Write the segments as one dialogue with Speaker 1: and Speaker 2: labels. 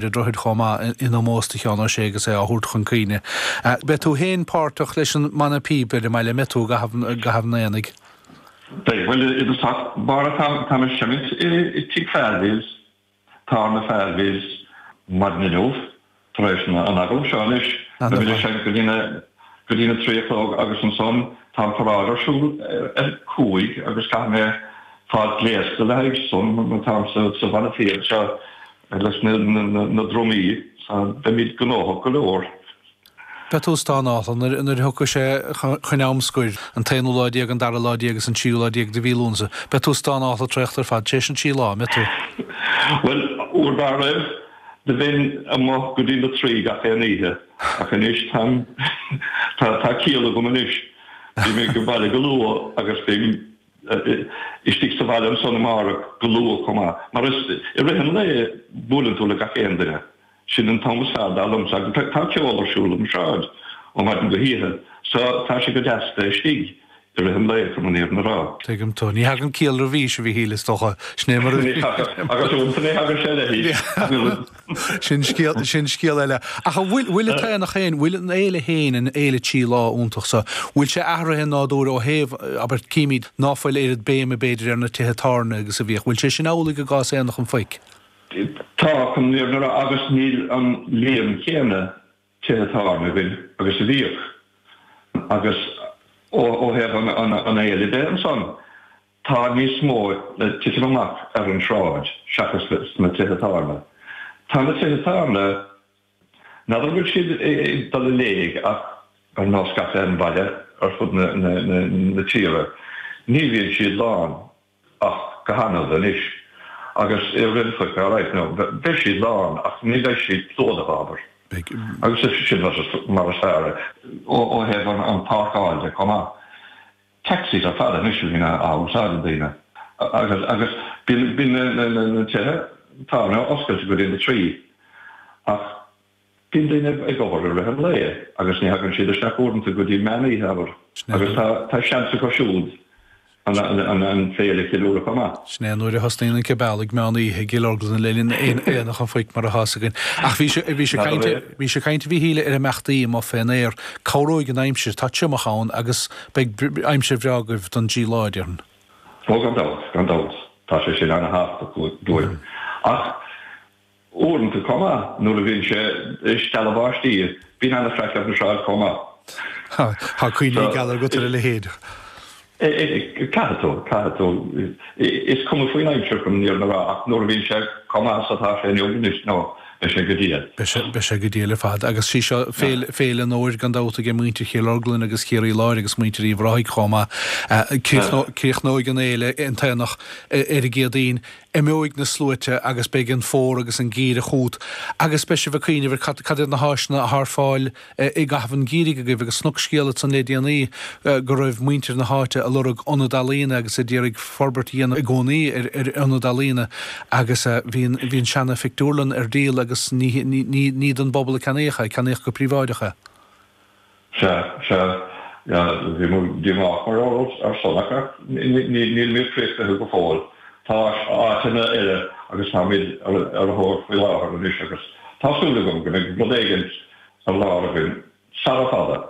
Speaker 1: An Droichid chomh maith in ómós do Sheán Ó Sé agus é á thabhairt chun cuimhne. Beidh tú féin páirteach leis an mbanna píob ar an mbaile, an mbeidh tú i gcaitheamh an aonaigh?
Speaker 2: Beidh, bhuel i dtosach báire táim ag seimint i Tigh Falvey's, Tábhairne Falvey's, maidin inniu tar éis an agallaimh seo anois. Beimid ag seinnt go dtí na go dtí na 3 a chlog agus ansan tá an paráid ar siúl ar 5 agus caithfidh mé fáil gléasta le haghaidh san mar táim sa bhanna píob anseo leis na drumaí so beimid gnóthach go leor.
Speaker 1: Beidh tú stánáilte nuair a thiocfaidh sé chun am scoir, an t-aonú lá déag, an dara lá déag agus an tríú lá déag de mhí Lúnasa. Beidh tú stánáilte traochta ar fad tar éis an trí lá, an mbeidh tú?
Speaker 2: Bhuel, uair dá raibh, do bheinn amuigh go dtí na trí gach aon oíche, ach anois táim, tá ciall agam anois. Bím ag baile go luath agus bím istigh sa bhaile ansan amárach go luath chomh maith. Mar is i rith an lae buaileann tú le gach aon duine. Sin an t-am is fearr dar liomsa agus tá ceol ar siúl ar an sráid ó mhaidin go hoíche so tá sé go deas bheith istigh i rith an lae chun an fhírinne a rá.
Speaker 1: Tuigim tú. Ní thagann ciall roimh aois, a Mhíchíl, is dócha. Sin é mar a.
Speaker 2: Ní thagann. Agus uaireanta ní thagann sé le haois.
Speaker 1: Sin scéal, sin scéal eile. Ach an bhfuil, bhfuil an t-aonach féin, bhfuil an fhéile féin, an fhéile trí lá iontach so, bhfuil sé athraithe i nádúr ó thaobh, abair, címid ná fuil oiread béime b'fhéidir ar na tithe tábhairne agus a bhíodh. Bhfuil sé sin amhlaidh i gcás Aonach an Phoic?
Speaker 2: Tá, chun an fhírinne a rá, agus níl an líon céanna tithe tábhairne againn agus a bhíodh. Agus ó thaobh an fhéile de ansan, Tá níos mó le titim amach ar an sráid seachas sna tithe tábhairne. Tá na tithe tábhairne, n'fheadar an bhfuil siad ag dul i léig ach ar nós gach aon bhaile ar fud na tíre, ní bhíonn siad lán ach go hannamh anois. Agus i rith an Phoic, alright, no, beidh siad lán ach ní bheidh siad plódaithe, abair. Agus sin mar is fearr é. Ó thaobh an páirceáil de chomh maith. Taxis ar fad anois a bhíonn á úsáid ag daoine agus agus bíonn na tithe tábhairne oscailte go dtí na 3 ach bíonn daoine ag obair i rith an lae agus ní thagann siad isteach uaireanta go dtí meán oíche abair agus tá seans acu siúd an féile a cheiliúradh chomh maith.
Speaker 1: Sin é nuair a thosnaíonn an cibeal ag meán oíche i gCill Orglan le linn Aonach an Phoic mar atá 'fhios againn. Ach bhí sé bhí sé ag caint bhí sé ag caint a Mhíchíl ar imeachtaí amuigh fén aer. Cabhróidh an aimsir, tá triomach ann agus beidh aimsir bhreá agaibh don dtrí lá, déarfainn.
Speaker 2: Ó gan dabht, gan dabht, tá sé sin ana-thábhachtach dúinn. Ach Uaireanta chomh maith, nuair a bhíonn sé ag stealladh báistí, bíonn ana-chraic ar an sráid chomh maith.
Speaker 1: Tá cuimhní geala agat ar a leithéid.
Speaker 2: Caithfidh tú, caithfidh tú. Is cuma faoin aimsir chun an fhírinne a rá, ach nuair a bhíonn sé chomh maith is atá sé inniu anois, nó beidh sé go diail.
Speaker 1: Beidh sé go diail ar fad. Agus sí seo féile, féile an fhómhair gan dabht aige muintir Chill Orglan agus Chiarraí Láir agus muintir Uíbh Ráthaigh chomh maith. Críochnóidh an fhéile, an t-aonach, ar an gCéadaoin. Imeoidh na sluaite agus beidh an fómhar agus an geimhreadh chugat agus beidh sibh ag cuimhneamh ar cad cad iad na háiseanna atá ar fáil i gcaitheamh an gheimhridh agaibh agus chonac scéal ansan le déanaí go raibh muintir na háite ag lorg ionad ealaíona agus ag iarraidh forbairt a dhéanamh i gcónaí ar ar ionad ealaíona agus bhí an bhí an seana phictiúrlann ar díol agus ní ní ní don bpobal a ceannaíodh é, ceannaíodh go príobháideach é.
Speaker 2: Sea, sea, bhí muid díomách mar gheall ar san ach nílimid críochnaithe go fóill. Tá áiteanna eile agus táimid ar a thóir faoi láthair anois agus tá súil agam go mbeidh rud éigin ar lár againn sara fada.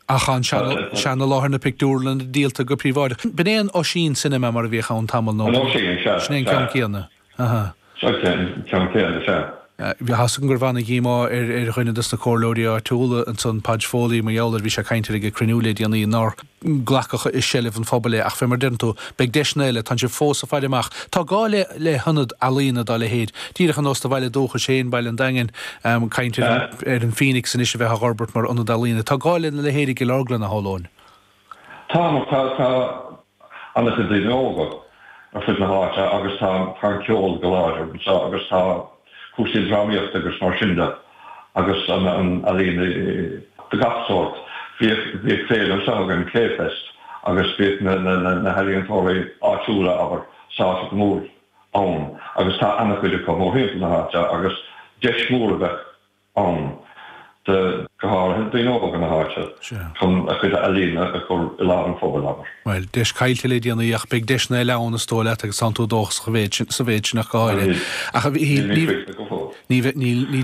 Speaker 1: Ach an seana-láthair na pictiúrlainne díolta go príobháideach. B'in é an Oisín Cinema mar a bhíodh ann tamall nó?
Speaker 2: An Oisín, sea,
Speaker 1: Sin é an ceann céanna.
Speaker 2: Aha. Seo an ceann céanna, sea.
Speaker 1: Tá 'fhios agam go raibh ana-dhíomá ar ar dhuine dos na comhairleoirí áitiúla ansan, Podge Foley, mar gheall air, bhí sé ag caint air ag cruinniú le déanaí, nár glacadh i seilbh an phobail é. Ach fé mar a deireann tú, beidh deiseanna eile, tánn sibh fós ag faire amach. Tá gá le le hionad ealaíona dá leithéid, díreach ar nós do bhaile dúchais féin, Baile an Daingin, caint ar ar an Phoenix anois a bheith á dh'fhorbairt mar ionad ealaíona. Tá gá lena leithéid i gCill Orglan, a shamhlóinn.
Speaker 2: Tá, mar tá tá an-chuid daoine óga ar fud na háite agus tá tá an ceol go láidir anseo agus tá cúrsaí drámaíochta agus mar sin de agus an an ealaín de gach sórt. Bhíodh bhíodh féile anseo againn, Clayfest, agus bhíodh na na na healaíontóirí áitiúla, abair, sáite go mór ann agus tá an-chuid acu mórthimpeall na háite agus deis mhór a bheadh ann do, go háirithe, daoine óga na háite chun a chuid ealaíne a chur i láthair an phobail, abair.
Speaker 1: Bhuel, deis caillte le déanaí ach beidh deiseanna eile ann is dóigh leat agus tánn tú dóchasach sa mhéid sin ach go háirithe. Ach ní. Ní bheidh, níl, níl sé.